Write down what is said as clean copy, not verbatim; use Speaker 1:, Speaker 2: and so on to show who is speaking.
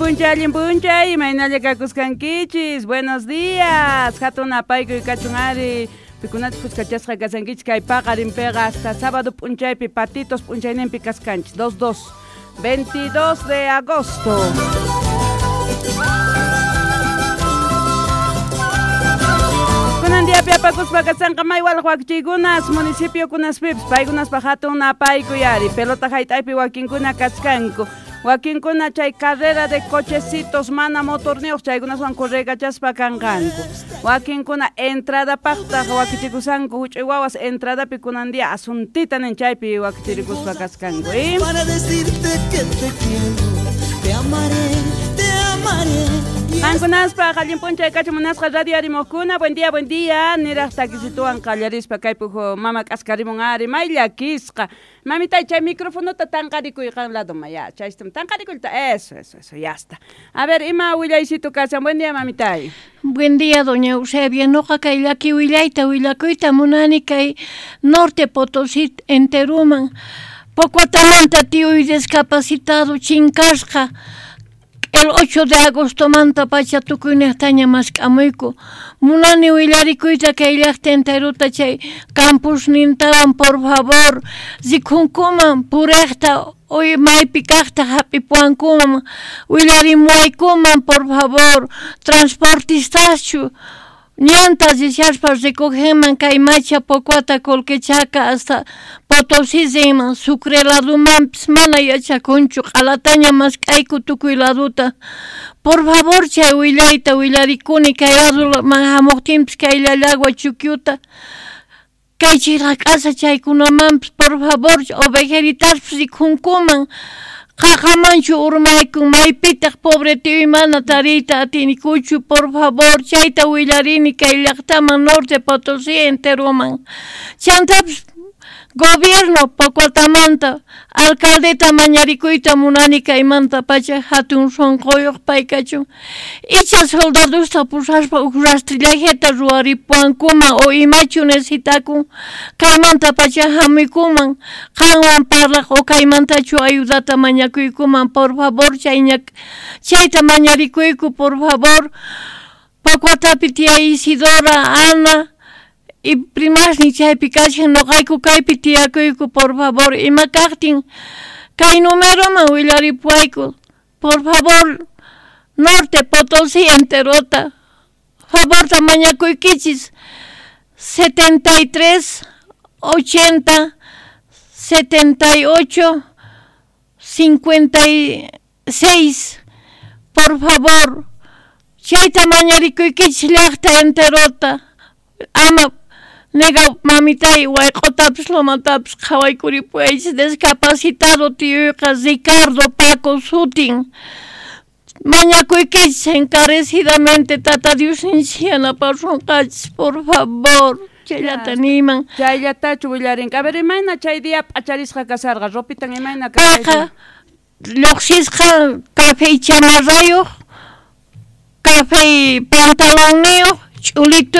Speaker 1: Allin punchay, imaynalla kakuskankichis. Buenos días. Hatun apaykuy kachun ari. Pikunachus kuskachasqa kasankichis kay paqarinpiqa hasta sábado p'unchaypi patitos p'unchayninpi kaskanchis. 2-2, 22 de agosto. Kunan diapi apakuspa kasanqa may walaq wakichiykunas municipiokunaspipis paykunaspa hatun apaykuy ari. Pelota hayt'aypi wakinkuna kaskanku. Wakinkuna chay carrera de cochecitos mana motorniyuq chaykunaswan corregachaspa kanqanku. Wakinkuna entradapaqtaq wakichikusanku huch'uy wawas entradapi kunan día asuntita nin chaypi wakichirikuspa kaskanku.
Speaker 2: Para decirte que te quiero, te amaré, te amaré.
Speaker 1: Qankunaspa allin p'unchay kachu munasqa radio arimuqkuna. Buen día, buen día. Niraq takisituwan qallarispa kaypuq mama k'askarimun ari may llakisqa. Mamitay chay microfonota tanqarikuy qan ladoman ya. Chaystam tanqarikuyta. Eso, eso, eso, ya está. A ver, ima willaysitu kashan. Buen día, mamitay.
Speaker 3: Buen día, doña Eusebia. Noqa kay llaki willayta willakuyta munani kay Norte Potosí enteruman. Pocoatamanta tiyuy discapacitado chinkasqa. El 8 de agosto manta pacha tukuynejtaña mask'amuyku. Munani willarikuyta kay llaqta enteruta chay campusnintawan, por favor, rikhunkuman purejta hoy maypi kajta hap'ipuwankuman, willarimuwaykuman, por favor, transportistaschu ñanta rishaspa recogeman kay Macha Pocoata Colquechaca hasta Potosí rinman, Sucre ladumanpis mana yachakunchu, q'alataña mask'ayku tukuy laduta. Por favor, chay willayta willarikuni kay laduman hamuqtinpis kay Llallagua Chukyuta, kay chiraq'asa chaykunamanpis, por favor, ovejeritaspis rikhunkuman. Qaqamanchu urmaykun, maypitaq pobre tiyuy mana tariyta atinikuchu, por favor, chayta willarini kay llaqtaman Norte Potosí enteroman. Chantapis gobierno Pocoatamanta alcaldeta mañarikuyta munani kaymanta pacha hatun sunquyuq pay kachun. Icha soldadosta pusaspa uj rastrillajeta ruwaripuwankuman o imachu necesitakun kaymanta pacha hamuykuman qanwan parlaq o kaymantachu ayudata mañakuykuman, por favor, chayta mañarikuyku, por favor. Pocoatapi tía Isidora, Ana y primasni chaypi kashan noqayku kaypi tiyakuyku, por favor, ima kaqtin kay numeroman willaripuwayku, por favor, Norte Potosí enterota, favorta mañakuykichis, 73 80 78 56, por favor, chayta mañarikuykichis llaqta enterota, ama nega mamitay wayq'otapis lomatapis qhawaykuripuwaychis discapacitado tiyuyqa Ricardo Paco sutin. Mañakuykichis encarecidamente tata Diosninchis yanapasunqachis, por favor. Chayllata niyman.
Speaker 1: Chayllatachu willarinqa. A ver, imayna chay día p'acharisqa kasarqa, ropitan imayna
Speaker 3: Payqa lluqsisqa café chamarrayuq, café pantalonniyuq, ch'ulituyuq.